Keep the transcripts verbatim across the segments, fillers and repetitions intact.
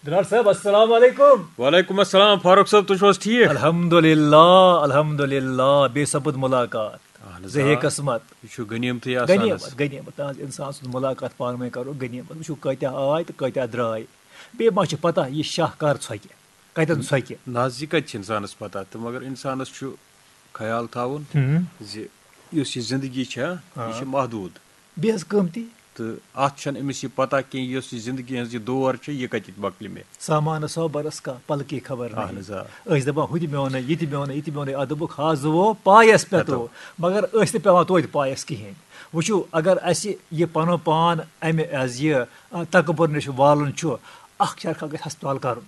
Doctor صٲب، السلام علیکم۔ وعلیکم السلام فاروق صٲب، تُہۍ چھِو حظ ٹھیٖک؟ الحمدللہ، الحمدللہ، بے سپُد ملاقات۔ اہن حظ، زہے آ۔ قسمت۔ یہِ چھُ غنیٖمتٕے آسان حظ۔ غنیمت، غنیمت، تہٕ انسان سُنٛد ملاقات پانہٕ ؤنۍ کرو غنیمت۔ وٕچھِو کۭتیاہ آے تہٕ کۭتیاہ درٛاے۔ بیٚیہِ ما چھِ پتہ یہِ شاہ کر ژھۄکہِ، کتٮ۪ن ژھۄکہِ۔ نہ حظ، یہِ کتہِ چھِ انسانس پتہ تہٕ مگر انسانس چھُ خیال تھاوُن ہُم۔ زِ یُس یہِ زندگی چھےٚ، آ۔ یہِ چھِ محدوٗد۔ بیٚیہِ حظ قۭمتی۔ تہٕ اتھ چھنہٕ أمِس یہِ پتہ کینٛہہ، یۄس یہِ زندگی ہٕنٛز یہِ دور چھِ، یہِ کتہِ مۄکلہِ مےٚ۔ سامان سو برس کا پل کی خبر نہیں۔ اہن حظ، آ۔ أسۍ دپان ہُہ تہِ میونٕے، یہِ تہِ میونٕے، یہِ تہِ میونٕے، اتھ دوٚپُکھ ہا زُوو پایس پٮ۪تو۔ پٮ۪تو۔ مگر أسۍ نہٕ پٮ۪وان توتہِ پایس کِہیٖنۍ۔ وٕچھِو، اگر اسہِ یہِ پنُن پان امہِ از یہِ آ، تکبر نِش والُن چھُ، اکھ چرکھا گژھِ ہسپتال کرُن۔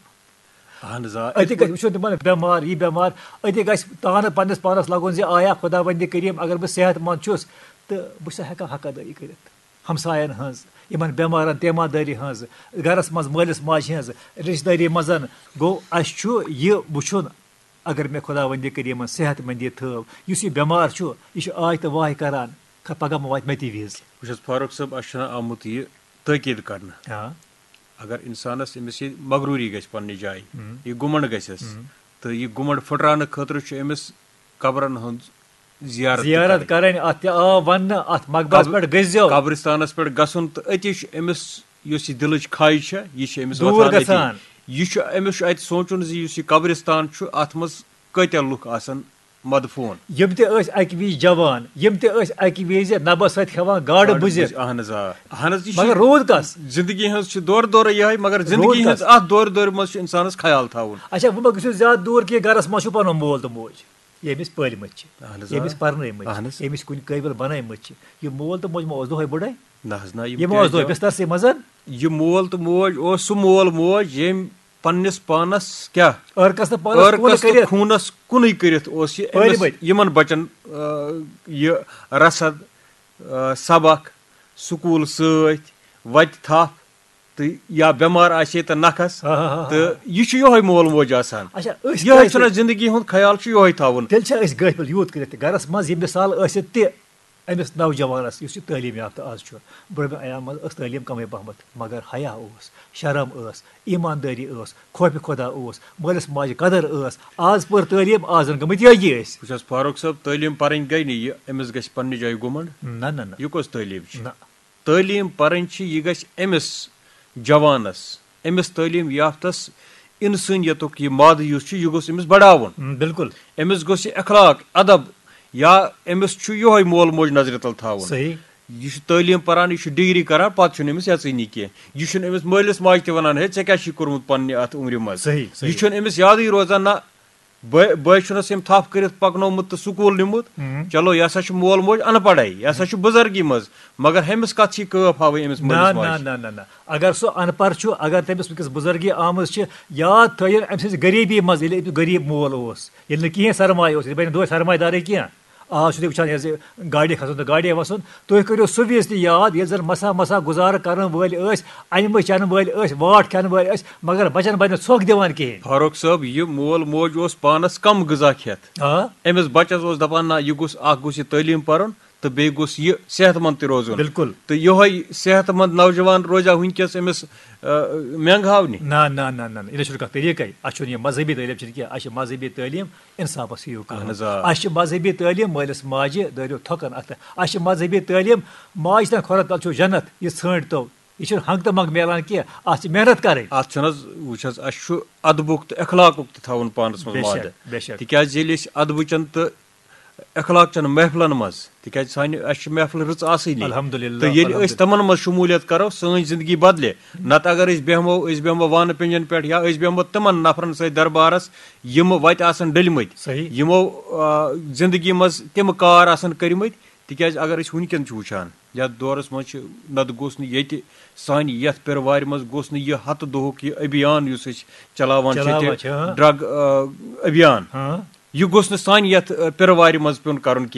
اہن حظ، آ۔ أتی گژھِ وٕچھُن تِمن بٮ۪مار، یہِ بٮ۪مار، أتی گژھِ تانہٕ پننِس پانس لگُن زِ آیا خداوندِ کریم، اگر بہٕ صحت مند چھُس تہٕ بہٕ چھُسا ہٮ۪کان حق ادٲیی کٔرِتھ۔ ہمساین ہٕنٛز، یِمن بٮ۪مارن تیماردٲری ہٕنٛز، گرس منٛز مٲلِس ماجہِ ہٕنٛز، رشتہٕ دٲری منٛز۔ گوٚو، اسہِ چھُ یہِ وٕچھُن، اگر مےٚ خداوندِ کریمن صحت مندی تھٲو، یُس یہِ بٮ۪مار چھُ، یہِ چھُ آے تہٕ واے کران، خ-، پگاہ ما واتہِ مےٚ تہِ وِزِ۔ وٕچھ حظ فاروق صٲب، اسہِ چھُنہٕ آمُت یہِ تٲکیٖد کرنہٕ۔ آ۔ اگر انسانس أمِس یہِ مغروٗری گژھِ پننہِ جایہِ، ہم۔ یہِ گُمنڈ گژھٮ۪س، ہم۔ تہٕ یہِ گُمنڈ پھٕٹراونہٕ خٲطرٕ چھُ أمِس قبرن ہٕنٛز زیارت تہِ زیارت کرٕنۍ۔ کرٕنۍ، اتھ تہِ آو وننہٕ، اتھ مقبرس قبر-، پٮ۪ٹھ گٔژھزیو۔ قبرستانس پٮ۪ٹھ گژھُن تہٕ أتی چھُ أمِس یۄس یہِ دِلٕچ کھاے چھےٚ، یہِ چھِ أمِس دوٗر وۄتھان أتی۔ گژھان۔ یہِ چھُ، أمِس چھُ اتہِ سونٛچُن زِ یُس یہِ قبرستان چھُ، اتھ منٛز کۭتیاہ لُکھ آسن مدفوٗن۔ یِم تہِ ٲسۍ اکہِ وِزِ جوان، یِم تہِ ٲسۍ اکہِ وِزِ نبس سۭتۍ کھٮ۪وان گاڈٕ بُزِتھ۔ اہن حظ، آ۔ اہن حظ، یہِ چھُ مگر روٗد کس؟ زندگی ہٕنٛز چھِ دورٕ دورٕ یِہے، مگر زندگی روٗد ہٕنٛز کس؟ اتھ دورٕ دورِ منٛز چھُ انسانس خیال تھاوُن۔ اچھا، وۄنۍ ما گٔژھِو زیادٕ دوٗر کینٛہہ، گرس منٛز چھُ پنُن مول تہٕ موج، ییٚمِس پٲلمٕتۍ چھِ، اہن حظ، آ۔ ییٚمِس پرنٲومٕتۍ اہن چھِ، حظ۔ ییٚمِس کُنہِ قٲبِل بنٲومٕتۍ چھِ۔ یہِ مول تہٕ موج ما اوس دۄہے بُڈے؟ نہ حظ، نہ، یِم یہِ ما کیٛازِ اوس دۄہے آو؟ بسترسٕے منٛز؟ یہِ مول تہٕ موج اوس سُہ مول موج ییٚمۍ پننِس پانس کیٛاہ؟ عٲرقس تہٕ پانس کُن عٲرقس تہٕ کٔرِتھ۔ خوٗنس کُنُے کٔرِتھ اوس یہِ أمِس، پٲلمٕتۍ۔ یِمن بچن، آ، یہِ رسد، آ، سبق، سکوٗل سۭتۍ، وتہِ تھپھ تہٕ یا بٮ۪مار آسہِ ہے تہٕ نکھس۔ ہا، ہا، ہا، ہا۔ تہٕ یہِ چھُ یِہوے مول موج آسان۔ اچھا، أسۍ یِہوے کیٛازِ چھُنہ زندگی ہُنٛد خیال چھُ یِہوے تھاوُن۔ تیٚلہِ چھا أسۍ غٲفِل یوٗت کٔرِتھ تہِ؟ گرس منٛز یہِ مثال ٲسِتھ تہِ أمِس نوجوانس یُس یہِ تعلیٖم یافتہٕ آز چھُ، برٛونٛہمہِ ایام منٛز ٲس تعلیٖم کمٕے پہمتھ، مگر حیا اوس، شرم ٲس، ایٖماندٲری ٲس، خوفِ خۄدا اوس، مٲلِس ماجہِ قدر ٲس۔ آز پٔر تعلیٖم، آز زن گٔمٕتۍ یٲگی أسۍ۔ وٕچھ حظ فاروق صٲب، تعلیٖم پرٕنۍ گٔے نہٕ یہِ أمِس گژھِ پننہِ جایہِ گُمنڈ۔ نہ، نہ، نہ۔ یہِ کۄس تعلیٖم چھِ؟ نہ۔ تعلیٖم پرٕنۍ چھِ، یہِ گژھِ أمِس جوانس، أمِس تعلیٖم یافتس انسٲنیتُک یہِ مادٕ یُس چھُ، یہِ گوٚژھ أمِس بڑاوُن۔ ہم، بِلکُل۔ أمِس گوٚژھ یہِ اخلاق، ادب، یا أمِس چھُ یِہوے مول موج نظرِ تل تھاوُن۔ صحیح۔ یہِ چھُ تعلیٖم پران، یہِ چھُ ڈگری کران، پتہٕ چھُنہٕ أمِس یژٲنی کینٛہہ۔ یہِ چھُنہٕ أمِس مٲلِس ماجہِ تہِ ونان، "ہے، ژےٚ کیٛاہ چھُے کوٚرمُت پننہِ اتھ عمرِ منٛز؟" صحیح، صحیح۔ یہِ چھُنہٕ أمِس یادٕے روزان، نہ بٲے، بٲے چھُنس أمۍ تھپھ کٔرِتھ پکنومُت تہٕ سکوٗل نیومُت۔ ہم۔ چلو، یہِ ہسا چھُ مول موج ان پڑھے، یہِ ہسا چھُ بُزرگی منٛز، مگر ہُمِس کتھ چھِ کٲف ہاوٕنۍ أمِس نہ، مٲلِس نہ، ماجہِ؟ نہ، نہ، نہ۔ اگر سُہ ان پڑھ چھُ، اگر تٔمِس وٕنکیٚس بُزرگی آمٕژ چھِ، یاد تھٲیِن أمۍ سٕنٛزِ غریٖبی منٛز، ییٚلہِ أمِس غریٖب مول اوس، ییٚلہِ نہٕ کِہیٖنۍ سرمایہِ اوس، ییٚلہِ بَنہِ دۄہَے سرمایہِ دارٕے کینٛہہ۔ آز چھُ تُہۍ وٕچھان یہِ زِ گاڑِ کھسُن تہٕ گاڑِ وَسُن، تُہۍ کٔرِو سُہ ویٖز تہِ یاد، ییٚلہِ زَن مسا مسا گُزارٕ کَرَن وٲلۍ ٲسۍ، اَنِمہٕ چَنہٕ وٲلۍ ٲسۍ، واٹھ کھٮ۪نہٕ وٲلۍ ٲسۍ، مگر بَچَن بَنہِ نہٕ ژھۄکھ دِوان کِہیٖنۍ۔ فاروق صٲب، یہِ مول موج اوس پانَس کم غذا کھٮ۪تھ۔ آ۔ أمِس بَچَس اوس دَپان، نہ، یہِ گوٚژھ، اَکھ گوٚژھ یہِ تعلیٖم پَرُن، تہٕ بیٚیہِ گوٚژھ یہِ صحت مند تہِ روزُن۔ بِلکُل۔ تہٕ یِہوٚے صحت مند نوجوان روزیٛا وٕنکیٚس أمِس، آ، مٮ۪نٛگہٕ ہاونہِ؟ نہ، نہ، نہ، نہ، نہ، یہِ نہ چھُنہٕ کانٛہہ طریٖقَے۔ اَسہِ چھُنہٕ یہِ مذہبی تعلیٖم چھِنہٕ کینٛہہ، اَسہِ چھِ مذہبی تعلیٖم اِنصافَس ہِیوٗ کَرُن۔ اہن حظ، آ۔ اَسہِ چھِ مذہبی تعلیٖم مٲلِس ماجہِ دٲرِو تھۄکَن اَتھٕ۔ اَسہِ چھِ مذہبی تعلیٖم ماجہِ تَن کھۄرَن تَل چھُو جنت، یہِ ژھٲنٛٹۍ تو۔ یہِ چھُنہٕ ہنٛگ تہٕ منٛگ میلان کینٛہہ، اَتھ چھِ محنت کَرٕنۍ۔ اَتھ چھُنہٕ حظ، وٕچھ حظ، اَسہِ چھُ ادبُک تہٕ اخلاقُک تہِ تھاوُن پانَس منٛز بے شک، مادٕ۔ بے شک۔ تِکیٛازِ ییٚلہِ أسۍ ادبہٕ چٮ۪ن تہٕ اخلاق چٮ۪ن محفلن منٛز، تِکیٛازِ سانہِ، اَسہِ چھِ محفلہٕ رٕژ آسٲنی۔ الحمدللہ، تہٕ ییٚلہِ الحمدللہ۔ أسۍ تِمن منٛز شموٗلیت کرو، سٲنۍ زندگی بدلہِ۔ نتہٕ اگر أسۍ بیٚہمو، أسۍ بیٚہمو وانہٕ پِنجن پٮ۪ٹھ یا أسۍ بیٚہمو تِمن نفرن سۭتۍ دربارس، یِم وتہِ آسن ڈٔلۍ مٕتۍ۔ صحیح۔ یِمو، آ، زندگی منٛز تِم کار آسن کٔرمٕتۍ۔ تِکیٛازِ اگر أسۍ وٕنکٮ۪ن چھِ وٕچھان، یتھ دورس منٛز چھِ، نتہٕ گوٚژھ نہٕ ییٚتہِ سانہِ یتھ پِرٕ وارِ منٛز گوٚژھ نہٕ یہِ ہتہٕ دۄہُک یہِ ابھیان یُس أسۍ چلاوان چھِ، چلاوان تہِ چھِ، ہاں۔ ڈرگ، آ، ابھیان۔ ہاں۔ یہِ گوٚژھ نہٕ سانہِ یتھ، آ، پِرٕ وارِ منٛز پیوٚن کرُن کینٛہہ۔